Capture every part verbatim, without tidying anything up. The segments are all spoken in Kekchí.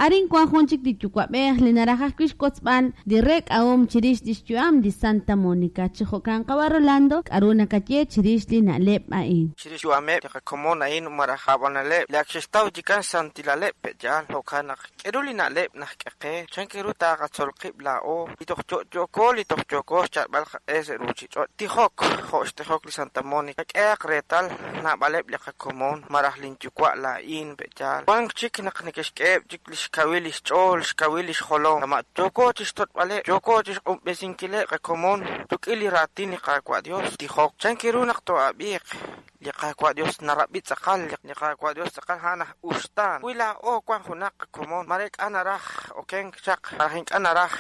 Arin wan jun chik li yuwa'b'ej li naraj ajwi' xwotzb'al li reek'ahom chirix li xyu'am li Santa Monica. Chi jo'kan qawa' Rolando, k'aru nakaye chirix li na'leb' a'in? Chirix xyu'ameb' li qakomon a'in malaj ab'analeb' li ak xe'xtaw chikan xsantilaleb' pe'yaal jo'kan naq k'eru li na'leb' najk'e qe chan ru taqatzol qib' laa'o li toj yo'yo'ko li toj yooko xyalb'al qaq'e sa' ruuchich'och' tijok jo' xtijok li Santa Monica k'ehaq reetal naab'aleb' li qakomon malaj linyuwa' laa'in pe'yaal wank chik naq neke'xk'eheb' chik li xkawil li xch'ool xkawil li xjolom kama' yooko chixtoch'b'aleb' yooko chixq'unb'esinkileb' qakomon rik'in li raatin li Qaawa' Dios tijok chan ru naq too'ab'iiq li Qaawa' Dios narab'i tz'aqal li Qaawa' Dios tz'aqal a'an aj uxtaan wi laa'o wan junaq qakomon mare k'a naraj okenk chaq malaj ink'a' naraj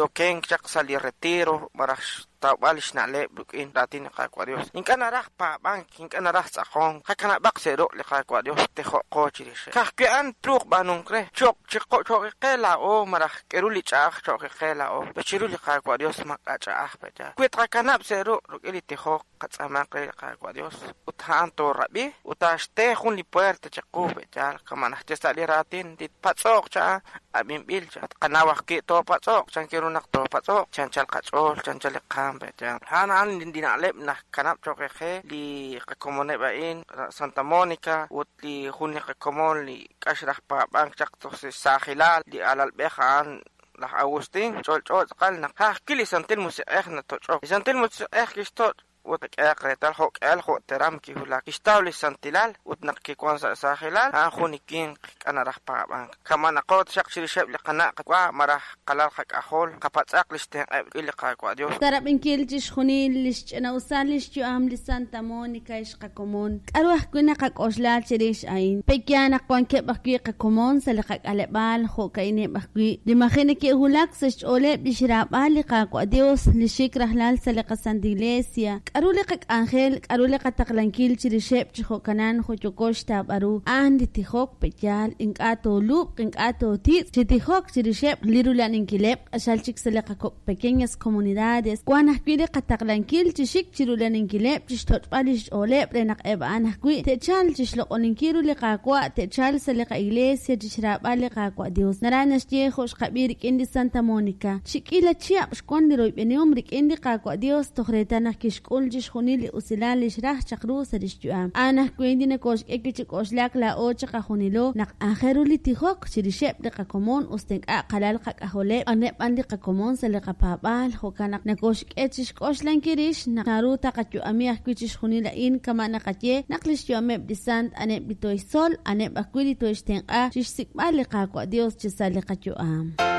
okenk chaq sa' li retiro malaj xtawb'al xna'leb' rik'in raatin li Qaawa' Dios ink'a' naraj paab'ank ink'a' naraj tz'aqonk qakanab'aq sa' ruq' li Qaawa' Dios tijo'qo chirix ka'ajwi' a'an truuq b'aanunk re cho'q cho'qiqe laa'o malaj k'eru li ch'a'aj cho'qiqe laa'o chiru li Qaawa' Dios mak'a ch'a'aj pe'yaal wi tqakanab' sa' ruq' rik'in li tijok qatz'aamaq re li Qaawa' Dios ut a'an toorab'i ut taaxte jun li puerta chiqu pe'yaal kama' najche sa' li raatin li patz'oq cha'a ab'inb'il cha tqanaw ajwi' toopatz'oq chan ru naq toopatz'oq chanchal qach'ool chanchal li qaam pe'yaal a'an a'an li na'leb' najkanab' cho'qiqe li qakomoneb' a'in Santa Monica ut li jun li qakomon li k'ax raj paab'ank chaq toj saajilal li alalb'ej a'an laj Agustín ch'olch'o tz'aqal naq ajwi' li Santil Musiq'ej natoch'ok li Santil Musiq'ej kixtoch' ut k'ehaq reetal jo'k'ehal jo'teram kiwulak kixtaw li santilal ut naq kiwan sa' saajilal a'an jun li winq k'a naraj paab'ank kama' naqo taxaq chirixeb' li qana' qawa' malaj qalal qak'ajol qapatz'aq li xtenq'eb' rik'in li Qaawa' Dios. Sarab'inkil chixjunil li xch'ina'usal li xyu'am li Santa Monica xqakomon. K'aru ajwi' naqak'oxla chirix a'in? Pe'yaal naq wankeb' ajwi' qakomon sa' li qak'aleb'aal jo'ka'ineb' ajwi' li maji' neke'wulak sa' xch'ooleb' li xraab'al li Qaawa' Dios li xik rajlal sa' li qaSanta Iglesia. K'aru li qak'anjel, k'aru li qataqlankil chirixeb' chi jo'kanan jo'yoko xtaab'aru a'an li tijok pe'yaal ink'a' toolub'q ink'a' tootitz' chi tijok chirixeb' li rula'aninkileb' q'axal chik sa' li qakok' pequeñas comunidades wan ajwi' li qataqlankil chi xik chi rula'aninkileb' chi xtoch'b'al li xch'ooleb' re naq eb' a'an ajwi' te'chalq chi xloq'oninkil ru li Qaawa' te'chalq sa' li qa'iglesia chi xraab'al li Qaawa' Dios. Naraj naxye jo' xqab'i rik'in li Santa Monica chi k'iila chihab' xwan li royb'enihom rik'in li Qaawa' Dios toj reetal naq kixk'ul chixjunil li usilal li xraj chaq ru sa' lix yu'am. A'an ajwi' li nokoxk'e wi' chi k'oxlak laa'o chiqajunilo naq aajel ru li tijok chirixeb' li qakomon us ta ink'a' qalal qak'ajoleb' aneb' b'an li qakomon sa' li qapaab'aal jo'kan naq nokoxk'e chixk'oxlankil rix naq naru taqayu'ami ajwi' chixjunil a'in kama' naqaye naq li xyu'ameb' li sant aneb' li toixtzol aneb' ajwi' li toixtenq'a chixsik'b'al li Qaawa' Dios chi sa' li qayu'am.